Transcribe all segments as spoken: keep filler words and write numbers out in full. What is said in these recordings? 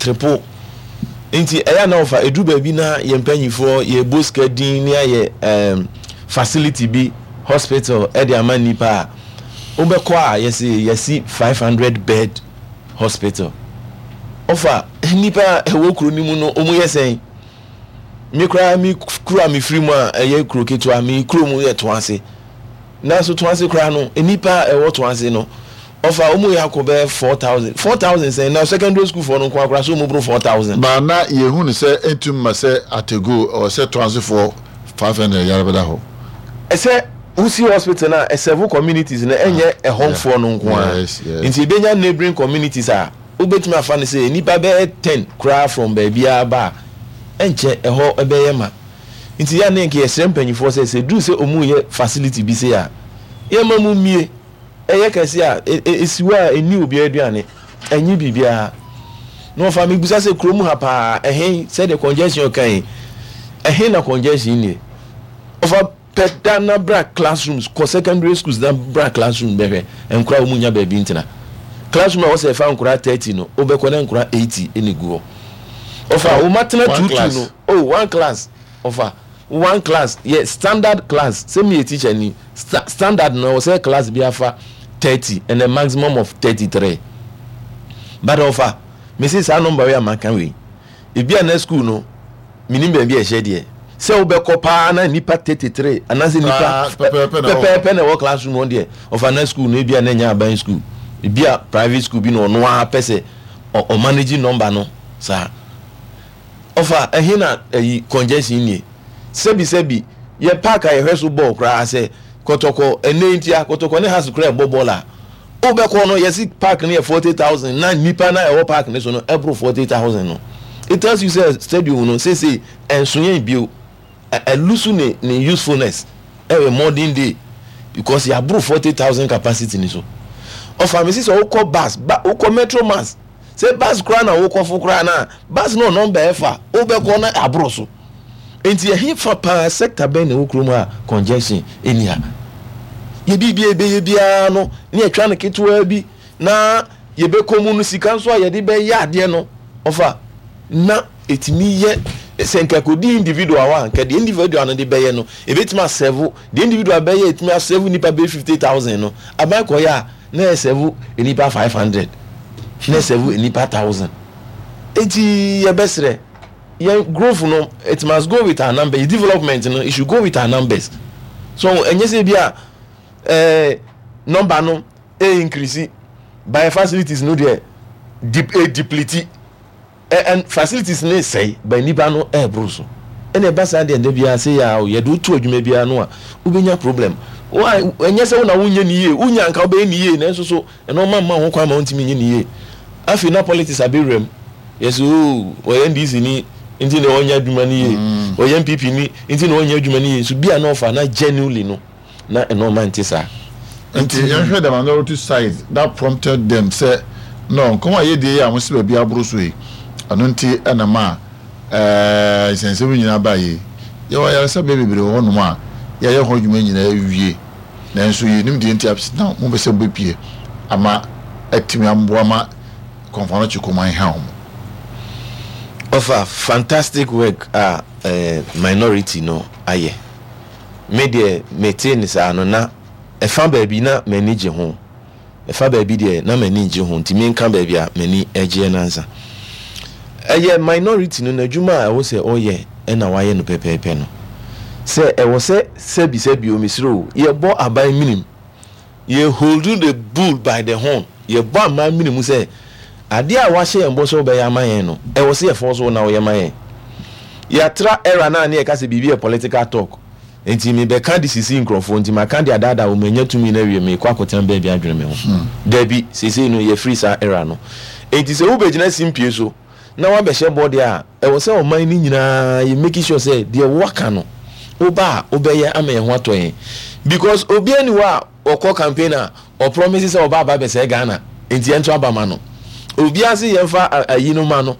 Atriple. Nti ɛyɛ na ɔfa edu baabi na yɛn mpanyinfoɔ yɛbɔ sika din ne ayɛ ɛɛm facility bi, hospital, ɛde ama nipa a wobɛkɔ a yɛsi yɛsi five hundred bed hospital. Ɔfa nipa a ɛwɔ kuro no mu no, wɔn yɛ sɛn? Mi koraa, mi kuro a mi firi mu a ɛyɛ kuro ketewa, mi kuro mu yɛ Toase, nanso Toase koraa no, nipa a ɛwɔ Toase no, ɔfa wɔn yɛ akɔ bɛyɛ four thousand, four thousand sɛn na secondary school foɔ no nko akora so wɔn boro four thousand. Ba na yɛhu no sɛ ɛntum ma sɛ atego ɔwɔ sɛ Toasefoɔ five hundred yare bɛda hɔ. Ɛsɛ wusi hospital na ɛserve communities na ɛnyɛ ɛhɔnfoɔ no nko ara. Yes, yes. Nti ebenya neighbouring communities a wobɛtumi afa no sɛ nipa bɛyɛ ten koraa from baabiara ba a, ɛnkyɛ ɛhɔ ɛbɛyɛ ma. Nti yɛn ne nka yɛsrɛ mpanyinfoɔ sɛ sɛ duru sɛ ɔmu yɛ facility bi se a, yɛma mu mie ɛyɛ kɛse a esi hɔ a ɛni obiara aduane, ɛnyi biribiara. Na wɔfa mi bisa sɛ kurom ha paa ɛhen, sɛdeɛ congestion kan yi, ɛhen na congestion nie? Ɔfa pɛ da na bra classrooms, kɔ secondary schools na bra classroom bɛhwɛ nkora wɔn nya baabi ntena. Classroom a wɔsɛ ɛfa nkora thirty no, wobɛkɔ na nkora eighty ɛna egu hɔ. Ɔfa wɔn atena two two no. Oh, one class. Ɔfa one class yɛ standard class sɛ mi yɛ teacher ni, sta standard no wɔsɛ class bi afa thirty and a maximum of thirty three, but ɔfa mesi saa number wei a maka wei, ebi a na school no minim baabi a ɛhyɛ deɛ sɛ wobɛkɔ paa na nipa thirty three anaasɛ nipa pɛpɛɛpɛ na ɛwɔ classroom hɔ deɛ. Ɔfa na school no, ebi a na ɛnyɛ aban school, ebi a private school bi na ɔno ara pɛ sɛ ɔmanage number no saa. Ɔfa ɛhe na ɛyi congestion nie? Sɛbi sɛbi, yɛ park a yɛhwɛ so bɔɔl koraa sɛ Kɔtɔkɔ ɛnɛ ntia Kɔtɔkɔ ne Hearts koraa ɛbɔ bɔɔl a, wobɛkɔ no, yɛsi park no yɛ forty thousand na nipa na ɛwɔ park no so no ɛboro forty thousand no, it tells you sɛ stadium no sese ɛnso yɛn bio, ɛlose ne ne usefulness ɛwɔ modern day because yɛaboro forty thousand capacity ni so. Ɔfa mi si sɛ wokɔ bus ba, wokɔ Metro Mass, sɛ bus koraa na wokɔ fo koraa na bus no number ɛfa wobɛkɔ na aboro so. Nti ɛhe fa paa, sector bɛn na ɛwɔ kurom a congestion ɛni ha? Yɛ biribi a ɛbɛyɛ biara no ne yɛtwa no ketewa bi na yɛbɛkɔ mu no, sika nso a yɛde bɛyɛ adeɛ no, ɔfa na ɛtumi yɛ sɛ nka kɔdi individual hɔ a, nka deɛ individual no de bɛyɛ no ɛbɛtumi aserve deɛ individual bɛyɛ, ɛtumi aserve nipa bɛyɛ fifty thousand no, aban kɔyɛ a na ɛserve nipa five hundred, na ɛserve nipa thousand. Eti yɛbɛsrɛ yɛn growth no, it must go with our numbers. Development no, it should go with our numbers. So ɛnyɛ sɛ bi a ɛɛ number no e increase by facilities no deɛ dep e deplete ɛ and facilities ne sɛe by nipa no ɛɛboro so. Ɛna ɛba saa deɛ, ndɛ biara sɛ yɛ a yɛde woto adwuma biara no a, wobɛnya problem. Wa ɛnyɛ sɛ wo na wonyɛ ne yie, wonya nka wobɛyɛ ne yie, nanso so ɛno ɔma mma ho kwan ma wontumi nyɛ ne yie. Afei na politics abɛwura mu, yɛsɛ o ɔyɛ N D C ni nti na ɔnyɛ adwuma no yie, ɔyɛ N P P ni nti na ɔnyɛ adwuma no yie. Nso bi a na ɔfa na genuinely no na ɛno ɔma nte saa. Nti yɛhwɛ the minority side that prompted them sɛ no nkɔmɔ a yɛdie yɛ a wɔsi baabi aboro so yi, ɛno nti ɛna ma ɛɛ nsɛnsɛm nyinaa ba yi. Yɛwɔ ayaresabea bebree wɔ hɔnom a yɛayɛ ho adwuma nyinaa wie, nanso yɛnim deɛ nti a na mo bɛ sɛ mo bɛpie ama atumi amboa ma Kɔmfo Anokye kɔma nha wɔn. Ɔfa fantastic work a eh, minority no ayɛ. Me deɛ, mete ne saa no na ɛfa baabi na m'ani gye ho, ɛfa baabi deɛ na m'ani gye ho. Nti menka baabi a m'ani gyeɛ nansa. Ɛyɛ minority no n'adwuma a ɛwɔ sɛ ɔyɛ ɛna wayɛ no pɛpɛɛpɛ no, sɛ ɛwɔ sɛ sɛbi sɛbi o, mesrɛ o, yɛbɔ aban minim, yɛ hold the bull by the horn, yɛbɔ aban minim sɛ adeɛ a wahyɛ yɛn bɔ sɛ ɔbɛyɛ ama yɛn no, ɛwɔ sɛ yɛfɔ so na ɔyɛ ma yɛn. Yɛatra era naa ne yɛka sɛ biribi yɛ political talk, nti mebɛka de sisi nkurɔfoɔ, nti maka de adaadaa wɔn, manya tumi no awie, mekɔ akɔtena baabi adwene me ho. Dabi, seesei no yɛfiri saa era no. Nti sɛ wobɛgyina simpie so na wabɛhyɛ bɔ deɛ a, ɛwɔ sɛ ɔman no nyinaa yɛ make sure sɛ deɛ waka no, woba a wobɛyɛ ama yɛn ho atɔ yɛn, because obiara ni hɔ a ɔkɔ campaign a ɔpromise sɛ ɔba aba bɛsɛe Ghana. Nti yɛn nso aba ma no, obiara se yɛmfa ayi no ma no,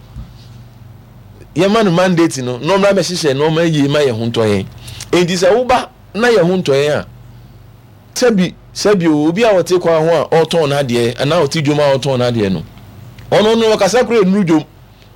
yɛma no mandate no na ɔmmra bɛhyehyɛ nneɛma yie ma yɛn ho ntɔ yɛn. Nti sɛ woba na yɛn ho ntɔ yɛn a, sɛbi sɛbi o, obi a ɔte kwan ho a ɔretɔn n'adeɛ anaa ɔte dwom a ɔretɔn n'adeɛ no, ɔno no ɔkasa kora nnuru dwom.